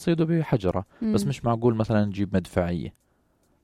تصيده بحجرة، بس مش معقول مثلا نجيب مدفعية.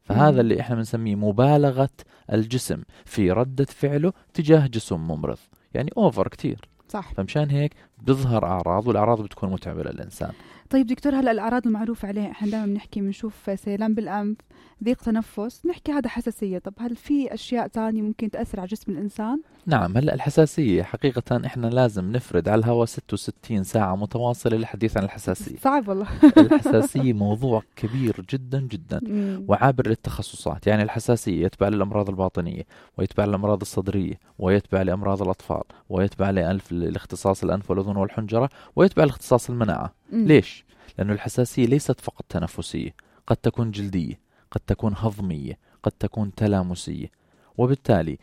فهذا اللي احنا بنسميه مبالغة الجسم في ردة فعله تجاه جسم ممرض، يعني اوفر كتير. صح. فمشان هيك بيظهر أعراض، والأعراض بتكون متعبة للإنسان. طيب دكتور، هلا الأعراض المعروفة عليها احنا دائما بنحكي، بنشوف سيلان بالأنف، ضيق تنفس، نحكي هذا حساسية. طب هل في أشياء تانية ممكن تأثر على جسم الإنسان؟ نعم، هلأ الحساسية حقيقة إحنا لازم نفرد على الهواء 66 ساعة متواصلة للحديث عن الحساسية. صعب والله. الحساسية موضوع كبير جدا جدا وعابر للتخصصات. يعني الحساسية يتبع للأمراض الباطنية، ويتبع للأمراض الصدرية، ويتبع لأمراض الأطفال، ويتبع لاختصاص الأنف والأذن والحنجرة، ويتبع لاختصاص المناعة. ليش؟ لأنه الحساسية ليست فقط تنفسية، قد تكون جلدية، قد تكون هضمية، قد تكون تلامسية. وبالتالي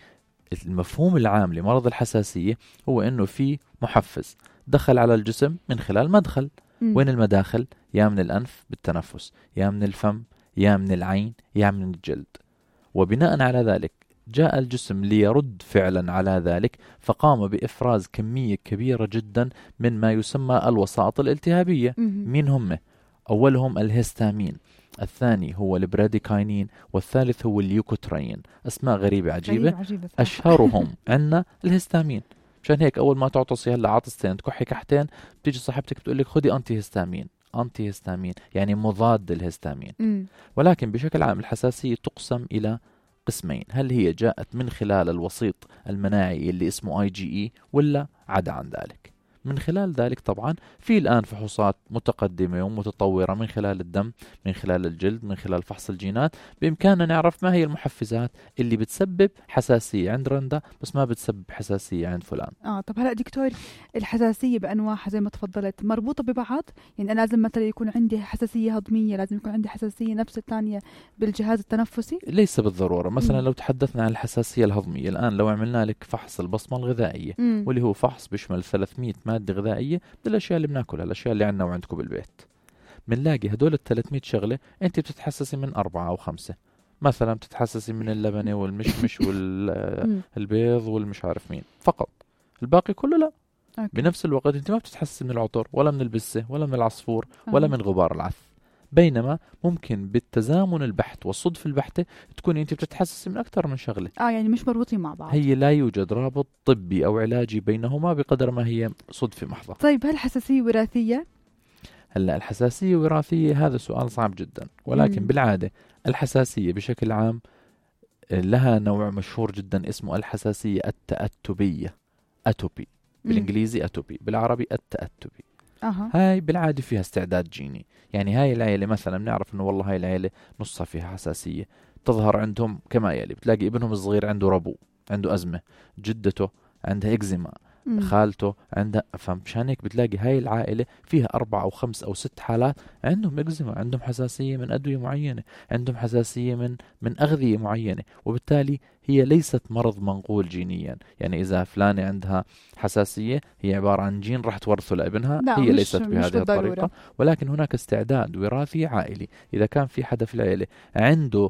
المفهوم العام لمرض الحساسية هو أنه في محفز دخل على الجسم من خلال مدخل. وين المداخل؟ يا من الأنف بالتنفس، يا من الفم، يا من العين، يا من الجلد. وبناء على ذلك جاء الجسم ليرد فعلا على ذلك، فقام بإفراز كمية كبيرة جدا من ما يسمى الوسائط الالتهابية. مين هم؟ أولهم الهستامين، الثاني هو البراديكاينين، والثالث هو اليوكوترين. أسماء غريبة عجيبة. أشهرهم عندنا الهستامين. مشان هيك أول ما تعطسي هلا عطستين تكحي كحتين بتيجي صاحبتك بتقول لك خدي أنتي هستامين. أنتي هستامين يعني مضاد للهستامين. ولكن بشكل عام الحساسية تقسم إلى قسمين: هل هي جاءت من خلال الوسيط المناعي اللي اسمه IgE ولا عدا عن ذلك؟ من خلال ذلك طبعا في الآن فحوصات متقدمة ومتطورة من خلال الدم، من خلال الجلد، من خلال فحص الجينات، بإمكاننا نعرف ما هي المحفزات اللي بتسبب حساسية عند رندا بس ما بتسبب حساسية عند فلان. طب هلأ دكتور، الحساسية بأنواعها زي ما تفضلت مربوطة ببعض؟ يعني أنا لازم مثلا يكون عندي حساسية هضمية، لازم يكون عندي حساسية نفس الثانية بالجهاز التنفسي؟ ليس بالضرورة. مثلا لو تحدثنا عن الحساسية الهضمية، الآن لو عملنا لك فحص البصمة الغذائية واللي هو فحص بيشمل 300 مادة غذائية بالأشياء اللي بناكلها، الأشياء اللي عندنا وعندكم بالبيت، بنلاقي هدول 300 شغلة أنت بتتحسسي من 4 أو 5. مثلا بتتحسسي من اللبنة والمشمش والبيض والمش عارف مين فقط، الباقي كله لا. بنفس الوقت أنت ما بتتحسسي من العطر ولا من البسة ولا من العصفور ولا من غبار العث. بينما ممكن بالتزامن البحت والصدفة البحتة تكون أنت بتتحسسي من أكثر من شغلة. يعني مش مربوطين مع بعض. هي لا يوجد رابط طبي أو علاجي بينهما بقدر ما هي صدفة محضة. طيب هل الحساسية وراثية؟ هلا الحساسية وراثية هذا سؤال صعب جدا، ولكن بالعادة الحساسية بشكل عام لها نوع مشهور جدا اسمه الحساسية التأتبية، أتوبي بالإنجليزي، أتوبي بالعربي التأتبي. هاي بالعادة فيها استعداد جيني. يعني هاي العيلة مثلا بنعرف انه والله هاي العيلة نصها فيها حساسية، تظهر عندهم كما يلي: بتلاقي ابنهم الصغير عنده ربو، عنده أزمة، جدته عندها إكزيما، خالته عندها. فمشان هيك بتلاقي هاي العائلة فيها 4 أو 5 أو 6 حالات عندهم إكزيما، عندهم حساسية من أدوية معينة، عندهم حساسية من أغذية معينة. وبالتالي هي ليست مرض منقول جينيا. يعني إذا فلانة عندها حساسية هي عبارة عن جين راح تورثه لابنها، هي ليست بهذه الطريقة. ولكن هناك استعداد وراثي عائلي. إذا كان في حدا في العائلة عنده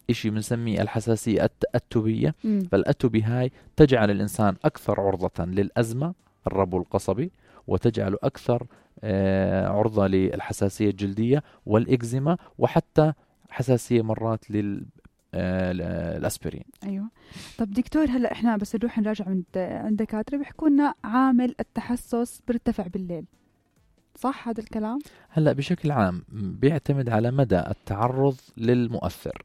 إشي بنسميه الحساسية التأتبية، فالأتبي هاي تجعل الإنسان أكثر عرضة للأزمة، الربو القصبي، وتجعله أكثر عرضة للحساسية الجلدية والإكزيما، وحتى حساسية مرات الأسبرين. أيوة. طب دكتور، هلأ إحنا بس نروح نراجع عند دكاترة بيحكوا لنا عامل التحسس بيرتفع بالليل، صح هذا الكلام؟ هلأ بشكل عام بيعتمد على مدى التعرض للمؤثر.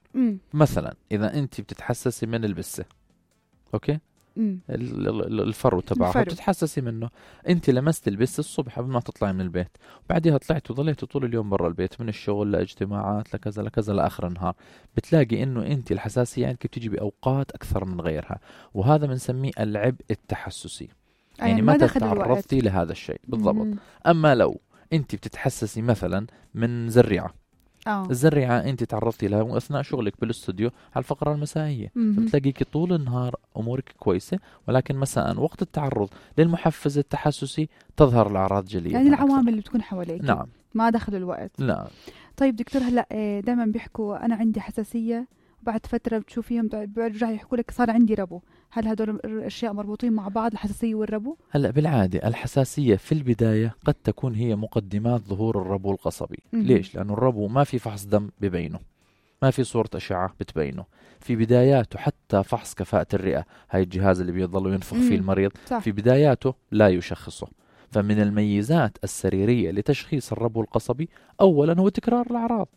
مثلا إذا أنت بتتحسسي من البسة، أوكي، الفرو تبعها بتتحسسي منه، أنت لمست البسة الصبح قبل ما تطلعي من البيت، بعدها طلعت وظليت طول اليوم برا البيت، من الشغل لاجتماعات لكذا لكذا لآخر النهار، بتلاقي إنه أنت الحساسية عندك بتيجي بأوقات أكثر من غيرها، وهذا بنسميه العبء التحسسي. يعني متى تعرضتي لهذا الشيء بالضبط. أما لو أنت بتتحسسي مثلا من زريعة، الزريعة أنت تعرضتي لها أثناء شغلك بالاستوديو على الفقرة المسائية، فبتلاقيك طول النهار أمورك كويسة، ولكن مساء وقت التعرض للمحفز التحسسي تظهر الأعراض جلية. يعني العوامل اللي بتكون حواليك. نعم. ما دخل الوقت. لا. طيب دكتور، هلأ دائما بيحكوا أنا عندي حساسية، بعد فترة بتشوفيهم بيرجعوا يحكوا لك صار عندي ربو. هل هدول الأشياء مربوطين مع بعض، الحساسية والربو؟ هلأ بالعادة الحساسية في البداية قد تكون هي مقدمات ظهور الربو القصبي. ليش؟ لأنه الربو ما في فحص دم ببينه، ما في صورة أشعة بتبينه في بداياته. حتى فحص كفاءة الرئة، هاي الجهاز اللي بيضلوا ينفخ فيه المريض، صح. في بداياته لا يشخصه. فمن الميزات السريرية لتشخيص الربو القصبي أولا هو تكرار الأعراض.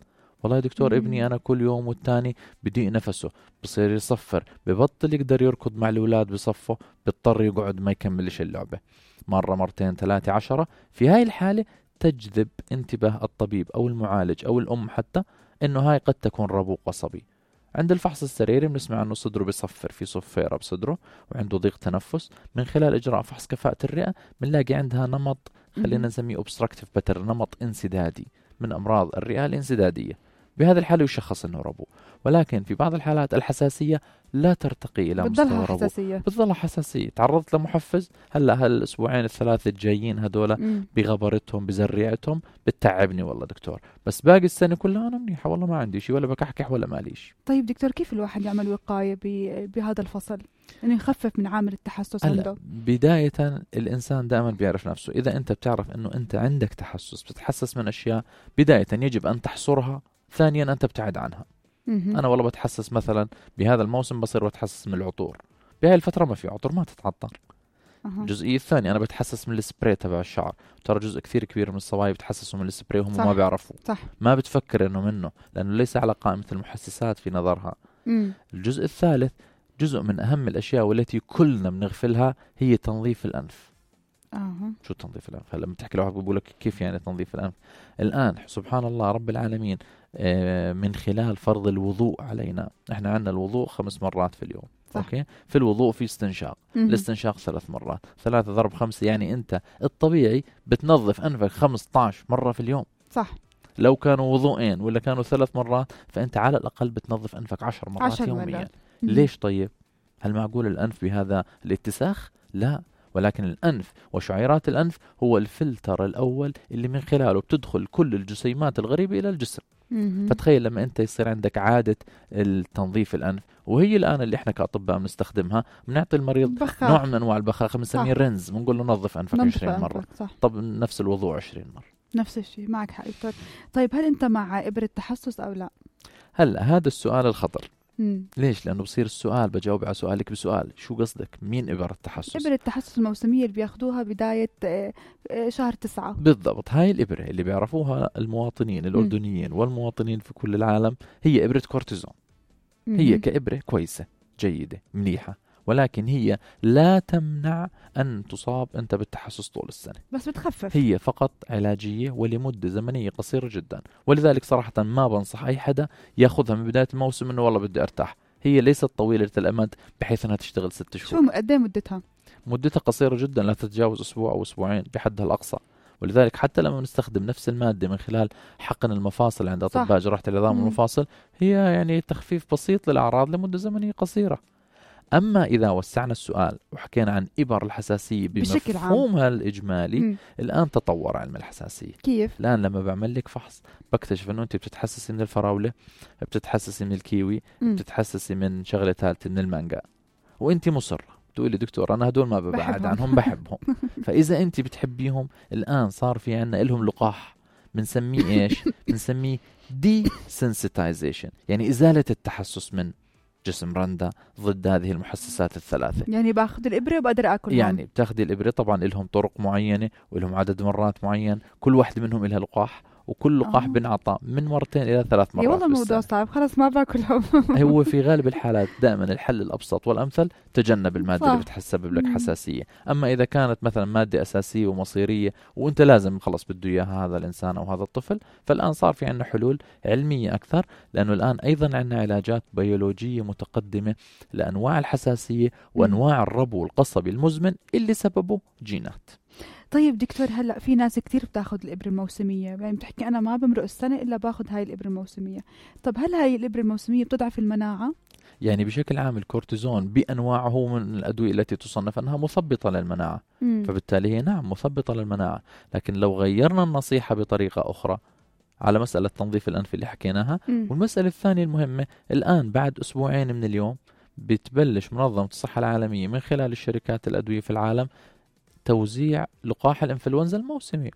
والله يا دكتور ابني أنا كل يوم والتاني بضيق نفسه، بصير يصفر، ببطل يقدر يركض مع الأولاد بصفه، بيضطر يقعد ما يكملش اللعبة، مرة مرتين ثلاثة 10. في هاي الحالة تجذب انتباه الطبيب أو المعالج أو الأم حتى إنه هاي قد تكون ربو قصبي. عند الفحص السريري بنسمع إنه صدره بيصفر، في صفيرة بصدره وعنده ضيق تنفس. من خلال إجراء فحص كفاءة الرئة بنلاقي عندها نمط، خلينا نسميه obstructive pattern، نمط انسدادي من أمراض الرئة الانسدادية. بهذا الحالة يشخص إنه ربو. ولكن في بعض الحالات الحساسية لا ترتقي إلى مستوى ربو، بتظلها حساسية. تعرضت لمحفز، هلا هالأسبوعين الثلاثة الجايين هدول بغبرتهم بزريعتهم بتتعبني والله دكتور، بس باقي السنة كلها أنا منيحة والله، ما عندي شيء ولا بكحكح ولا ماليش. طيب دكتور، كيف الواحد يعمل وقاية بهذا الفصل إنه يخفف من عامل التحسس عنده؟ بداية الإنسان دائما بيعرف نفسه. إذا أنت بتعرف إنه أنت عندك تحسس، بتتحسس من أشياء، بداية يجب أن تحصرها، ثانيا أن تبتعد عنها. أنا والله بتحسس مثلا بهذا الموسم بصير بتحسس من العطور، بهاي الفترة ما في عطور، ما تتعطر. الجزئية الثانية أنا بتحسس من السبراي تبع الشعر، ترى جزء كثير كبير من الصبايا بتحسسوا من السبراي وهم ما بيعرفوا، ما بتفكر إنه منه، لأنه ليس على قائمة المحسسات في نظرها. الجزء الثالث جزء من أهم الأشياء والتي كلنا بنغفلها، هي تنظيف الأنف. شو تنظيف الأنف؟ هلا لما تحكي لواحد بيقول لك كيف يعني تنظيف الأنف؟ الآن سبحان الله رب العالمين من خلال فرض الوضوء علينا، احنا عندنا الوضوء 5 مرات في اليوم. اوكي، في الوضوء في استنشاق، الاستنشاق 3 مرات، 3 ضرب 5، يعني انت الطبيعي بتنظف انفك 15 مرة في اليوم. صح. لو كانوا وضوءين ولا كانوا 3 مرات، فانت على الاقل بتنظف انفك 10 مرات يوميا. ليش طيب؟ هل معقول الانف بهذا الاتساخ؟ لا، ولكن الأنف وشعيرات الأنف هو الفلتر الأول اللي من خلاله بتدخل كل الجسيمات الغريبة إلى الجسم. فتخيل لما أنت يصير عندك عادة التنظيف الأنف، وهي الآن اللي إحنا كأطباء بنستخدمها، بنعطي المريض نوع من أنواع البخاخ بنسميه رنز، بنقول له نظف أنفك 20 مرة. طب نفس الوضوء 20 مرة، نفس الشيء. معك حق دكتور. طيب هل أنت مع إبرة تحسس أو لا؟ هلا هذا السؤال الخطر. ليش؟ لأنه بصير السؤال بجاوب على سؤالك بسؤال، شو قصدك؟ مين إبرة التحسس؟ إبرة التحسس الموسمية اللي بياخدوها بداية شهر 9 بالضبط. هاي الإبرة اللي بيعرفوها المواطنين الأردنيين والمواطنين في كل العالم، هي إبرة كورتيزون. هي كإبرة كويسة جيدة مليحة، ولكن هي لا تمنع أن تصاب أنت بالتحسس طول السنة، بس بتخفف. هي فقط علاجية ولمدة زمنية قصيرة جدا. ولذلك صراحة ما بنصح أي حدا يأخذها من بداية الموسم إنه والله بدي أرتاح. هي ليست طويلة الأمد بحيث أنها تشتغل 6 شهور. شو قد ايه مدتها؟ مدتها قصيرة جدا، لا تتجاوز أسبوع أو أسبوعين بحدها الأقصى. ولذلك حتى لما نستخدم نفس المادة من خلال حقن المفاصل عند أطباء جراحة العظام والمفاصل، هي يعني تخفيف بسيط للأعراض لمدة زمنية قصيرة. أما إذا وسعنا السؤال وحكينا عن إبر الحساسية بمفهومها الإجمالي، الآن تطور علم الحساسية. كيف؟ الآن لما بعمل لك فحص بكتشف أنه أنت بتتحسسي من الفراولة، بتتحسسي من الكيوي، بتتحسسي من شغلة ثالثة من المانجا، وأنت مصرة تقولي دكتور أنا هدول ما ببعد عنهم، بحبهم. فإذا أنت بتحبيهم، الآن صار في عنا إلهم لقاح بنسميه إيش؟ بنسميه desensitization، يعني إزالة التحسس من جسم رندا ضد هذه المحسسات الثلاثة. يعني باخذ الإبرة وبقدر أكلهم. يعني بتاخذي الإبرة، طبعا لهم طرق معينة ولهم عدد مرات معين، كل واحدة منهم لها لقاح، وكل لقاح بنعطى من 2 إلى 3 مرات. والله الموضوع صعب، خلاص ما باكلهم. هو في غالب الحالات دائما الحل الأبسط والأمثل تجنب المادة اللي بتسبب لك حساسية. أما إذا كانت مثلا مادة أساسية ومصيرية وأنت لازم خلص بده إياها هذا الإنسان أو هذا الطفل، فالآن صار في عنا حلول علمية أكثر، لأنه الآن أيضا عنا علاجات بيولوجية متقدمة لأنواع الحساسية وأنواع الربو القصبي المزمن اللي سببه جينات. طيب دكتور، هلأ في ناس كتير بتاخد الإبرة الموسمية، يعني بتحكي أنا ما بمرق السنة إلا باخد هاي الإبرة الموسمية. طب هل هاي الإبرة الموسمية بتضعف المناعة؟ يعني بشكل عام الكورتيزون بأنواعه هو من الأدوية التي تصنف أنها مثبطة للمناعة، فبالتالي هي نعم مثبطة للمناعة. لكن لو غيرنا النصيحة بطريقة أخرى على مسألة تنظيف الأنف اللي حكيناها، والمسألة الثانية المهمة، الآن بعد 2 أسبوع من اليوم بتبلش منظمة الصحة العالمية من خلال الشركات الأدوية في العالم توزيع لقاح الإنفلونزا الموسمي،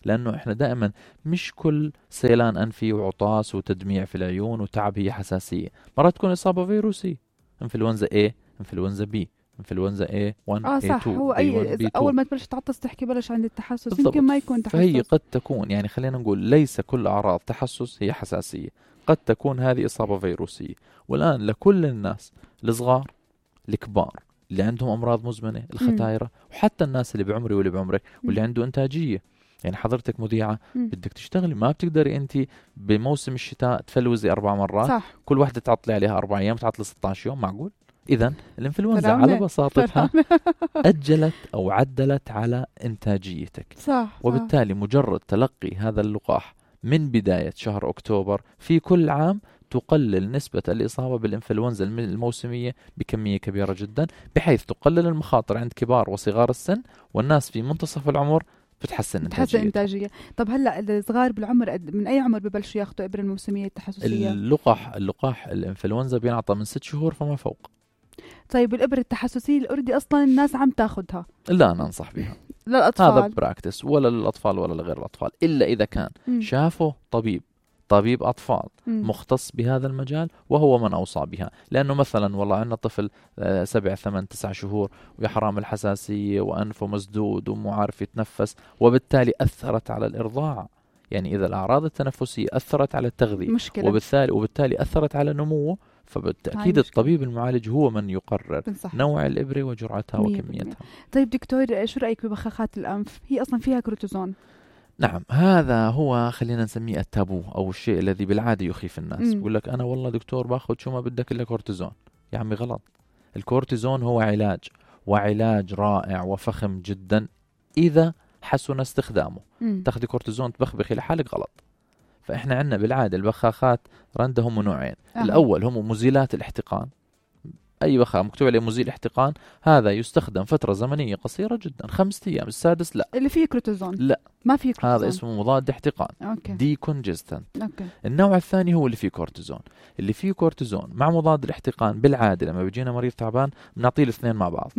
لأنه إحنا دائما مش كل سيلان أنفي وعطاس وتدميع في العيون وتعب هي حساسية، مرات تكون إصابة فيروسية، إنفلونزا A، إنفلونزا B، إنفلونزا A1 صح. A2 هو A1 B2. أول ما تبلش تعطس تحكي بلش عند التحسس، يمكن ما يكون تحسس. فهي قد تكون، يعني خلينا نقول ليس كل أعراض تحسس هي حساسية، قد تكون هذه إصابة فيروسية. والآن لكل الناس، الصغار، الكبار، اللي عندهم أمراض مزمنة، الختايرة، وحتى الناس اللي بعمري واللي بعمرك واللي عنده إنتاجية. يعني حضرتك مذيعة بدك تشتغلي، ما بتقدري أنت بموسم الشتاء تفلوزي 4 مرات، صح. كل واحدة تعطلي عليها 4 أيام، تعطلي 16 يوم، معقول؟ إذن الإنفلونزا على بساطتها أجلت أو عدلت على إنتاجيتك. صح. وبالتالي مجرد تلقي هذا اللقاح من بداية شهر أكتوبر في كل عام تقلل نسبة الإصابة بالإنفلونزا الموسمية بكمية كبيرة جدا، بحيث تقلل المخاطر عند كبار وصغار السن، والناس في منتصف العمر بتحسن إنتاجية. طب هلا الصغار بالعمر من أي عمر ببلشوا ياخذوا إبرة الموسمية التحسسية؟ اللقاح الإنفلونزا بينعطى من 6 شهور فما فوق. طيب الإبرة التحسسية الأردي أصلا الناس عم تاخدها؟ لا، أنا أنصح بها. للأطفال هذا براكتس، ولا للأطفال ولا لغير الأطفال، إلا إذا كان شافه طبيب أطفال مختص بهذا المجال وهو من أوصى بها. لأنه مثلا والله عندنا طفل 7 8 9 شهور ويا حرام الحساسية وأنفه مسدود ومو عارف يتنفس، وبالتالي أثرت على الإرضاع. يعني إذا الأعراض التنفسية أثرت على التغذية مشكلة. وبالتالي أثرت على نموه، فبالتأكيد الطبيب المعالج هو من يقرر نوع الإبرة وجرعتها وكميتها. طيب دكتور، شو رأيك ببخاخات الأنف؟ هي أصلا فيها كورتيزون. نعم، هذا هو خلينا نسميه التابو أو الشيء الذي بالعادة يخيف الناس. بقول لك أنا والله دكتور باخذ شو ما بدك إلا كورتيزون. يا عمي غلط. الكورتيزون هو علاج، وعلاج رائع وفخم جدا إذا حسن استخدامه. تاخذي كورتيزون تبخبخي لحالك، غلط. فإحنا عندنا بالعادة البخاخات رنده هم نوعين. الأول هم مزيلات الاحتقان. أي بخاخ مكتوب عليه مزيل احتقان، هذا يستخدم فترة زمنية قصيرة جدا، 5 أيام. السادس لا. اللي فيه كورتيزون؟ لا، ما فيه كورتيزون. هذا اسمه مضاد احتقان، دي كونجستنت. النوع الثاني هو اللي فيه كورتيزون. اللي فيه كورتيزون مع مضاد الاحتقان بالعادة لما بيجينا مريض تعبان بنعطيه الاثنين مع بعض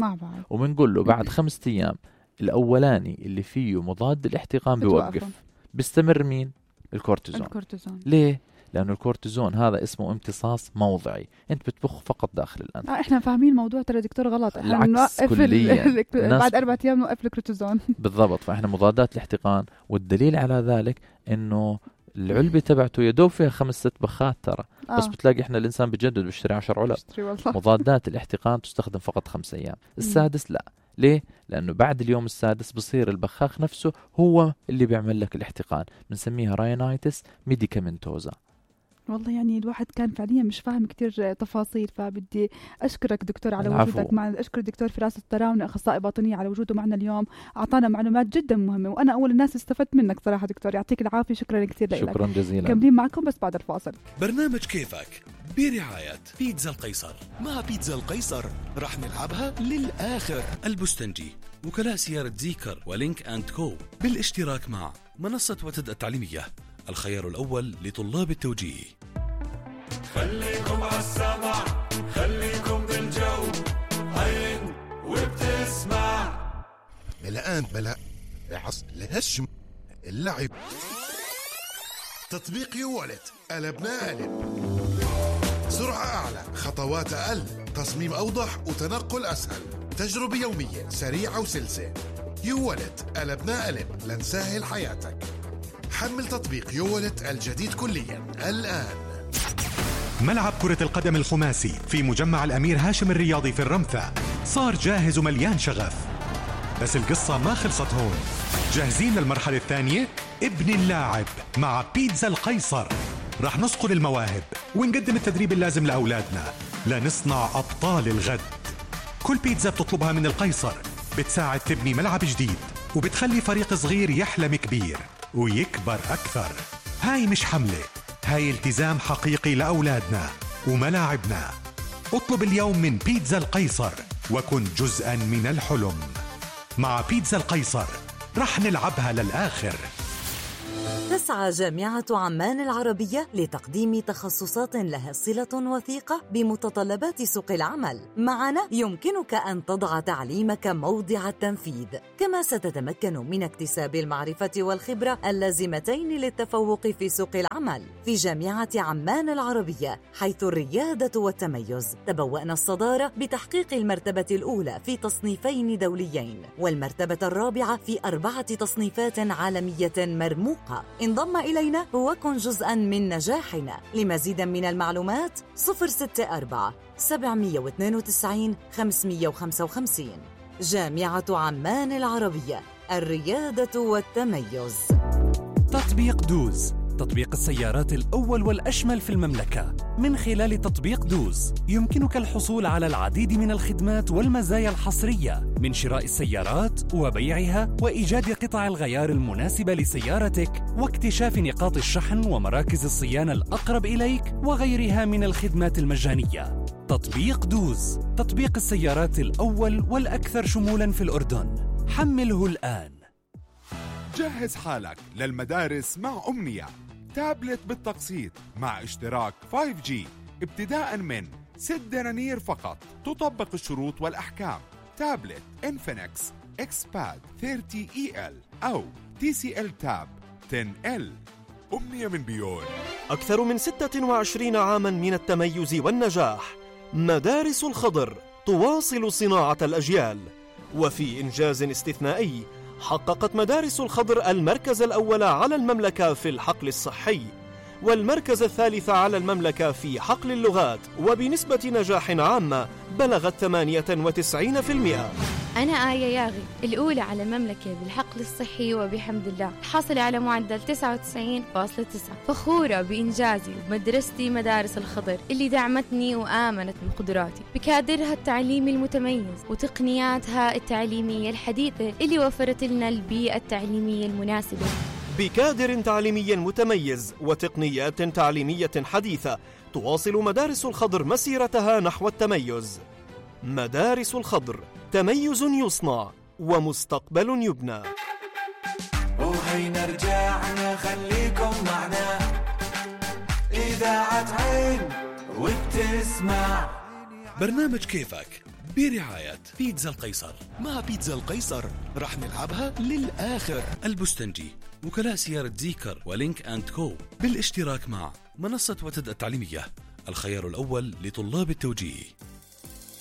وبنقول له بعد 5 أيام الأولاني اللي فيه مضاد الاحتقان بيوقف، بيستمر مين؟ الكورتيزون. ليه؟ لأنه الكورتيزون هذا اسمه امتصاص موضعي، أنت بتبخ فقط داخل الأنف. إحنا فاهمين الموضوع ترى دكتور غلط. إحنا نوقف بعد 4 أيام نوقف الكورتيزون. بالضبط. فإحنا مضادات الاحتقان، والدليل على ذلك إنه العلبة تبعته يدوب فيها 5 6 بخات ترى. بس بتلاقي إحنا الإنسان بجدد بيشتري 10 علب. مضادات الاحتقان تستخدم فقط 5 أيام. السادس لا. ليه؟ لأنه بعد اليوم السادس بصير البخاخ نفسه هو اللي بيعمل لك الاحتقان، بنسميها راينايتس ميديكامنتوزا. والله يعني الواحد كان فعليا مش فاهم كتير تفاصيل، فبدي أشكرك دكتور على وجودك معنا. أشكر الدكتور فراس الطراونة أخصائي باطنية على وجوده معنا اليوم، أعطانا معلومات جدا مهمة، وأنا أول الناس استفدت منك صراحة دكتور. يعطيك العافية، شكرا كثير لك. شكرا جزيلا. كملين معكم بس بعد الفاصل. برنامج كيفك برعاية بيتزا القيصر. مع بيتزا القيصر رح نلعبها للآخر. البستنجي، وكلاء سيارة زيكر ولينك أند كو، بالاشتراك مع منصة وتد التعليمية، الخيار الأول لطلاب التوجيه. خليكم عالسمع، خليكم بالجو، عين وبتسمع. بلا لهشم اللعب. تطبيق يوالت، قلبنا قلب. سرعة أعلى، خطوات أقل، تصميم أوضح وتنقل أسهل، تجربة يومية سريعة وسلسة. يوالت، قلبنا قلب لنسهل حياتك. حمل تطبيق يوالت الجديد كليا الآن. ملعب كرة القدم الخماسي في مجمع الأمير هاشم الرياضي في الرمثة صار جاهز ومليان شغف، بس القصة ما خلصت هون. جاهزين للمرحلة الثانية؟ ابن اللاعب مع بيتزا القيصر. رح نصقل المواهب ونقدم التدريب اللازم لأولادنا لنصنع أبطال الغد. كل بيتزا بتطلبها من القيصر بتساعد تبني ملعب جديد، وبتخلي فريق صغير يحلم كبير ويكبر أكثر. هاي مش حملة، هاي التزام حقيقي لأولادنا وملاعبنا. اطلب اليوم من بيتزا القيصر وكن جزءاً من الحلم. مع بيتزا القيصر رح نلعبها للآخر. تسعى جامعة عمان العربية لتقديم تخصصات لها صلة وثيقة بمتطلبات سوق العمل. معنا يمكنك أن تضع تعليمك موضع التنفيذ، كما ستتمكن من اكتساب المعرفة والخبرة اللازمتين للتفوق في سوق العمل. في جامعة عمان العربية حيث الريادة والتميز تبوأنا الصدارة بتحقيق المرتبة الأولى في تصنيفين دوليين، والمرتبة الرابعة في 4 تصنيفات عالمية مرموقة. انضم إلينا وكن جزءاً من نجاحنا. لمزيد من المعلومات 064 792 555. جامعة عمان العربية، الريادة والتميز. تطبيق دوز، تطبيق السيارات الأول والأشمل في المملكة. من خلال تطبيق دوز يمكنك الحصول على العديد من الخدمات والمزايا الحصرية، من شراء السيارات وبيعها وإيجاد قطع الغيار المناسبة لسيارتك واكتشاف نقاط الشحن ومراكز الصيانة الأقرب إليك وغيرها من الخدمات المجانية. تطبيق دوز، تطبيق السيارات الأول والأكثر شمولاً في الأردن. حمله الآن. جهز حالك للمدارس مع أمنية، تابلت بالتقسيط مع اشتراك 5G ابتداء من 6 دنانير فقط. تطبق الشروط والأحكام. تابلت إنفينكس إكسباد 30EL أو TCL تاب 10L. أمنية من بيون. أكثر من 26 عاماً من التميز والنجاح. مدارس الخضر تواصل صناعة الأجيال. وفي إنجاز استثنائي حققت مدارس الخضر المركز الأول على المملكة في الحقل الصحي، والمركز الثالث على المملكة في حقل اللغات، وبنسبة نجاح عامة بلغت 98%. أنا آية ياغي، الأولى على المملكة بالحقل الصحي وبحمد الله، حاصلة على معدل 99.9. فخورة بإنجازي ومدرستي مدارس الخضر اللي دعمتني وآمنت بقدراتي بكادرها التعليمي المتميز وتقنياتها التعليمية الحديثة اللي وفرت لنا البيئة التعليمية المناسبة. بكادر تعليمي متميز وتقنيات تعليمية حديثة تواصل مدارس الخضر مسيرتها نحو التميز. مدارس الخضر، تميز يصنع ومستقبل يبنى. وهينا رجعنا، خليكم معنا، إذاعة عين وبتسمع. برنامج كيفك برعاية بيتزا القيصر. مع بيتزا القيصر رح نلعبها للآخر. البستنجي، وكلاء سيارة زيكر ولينك أند كو، بالاشتراك مع منصة وتد التعليمية، الخيار الأول لطلاب التوجيه.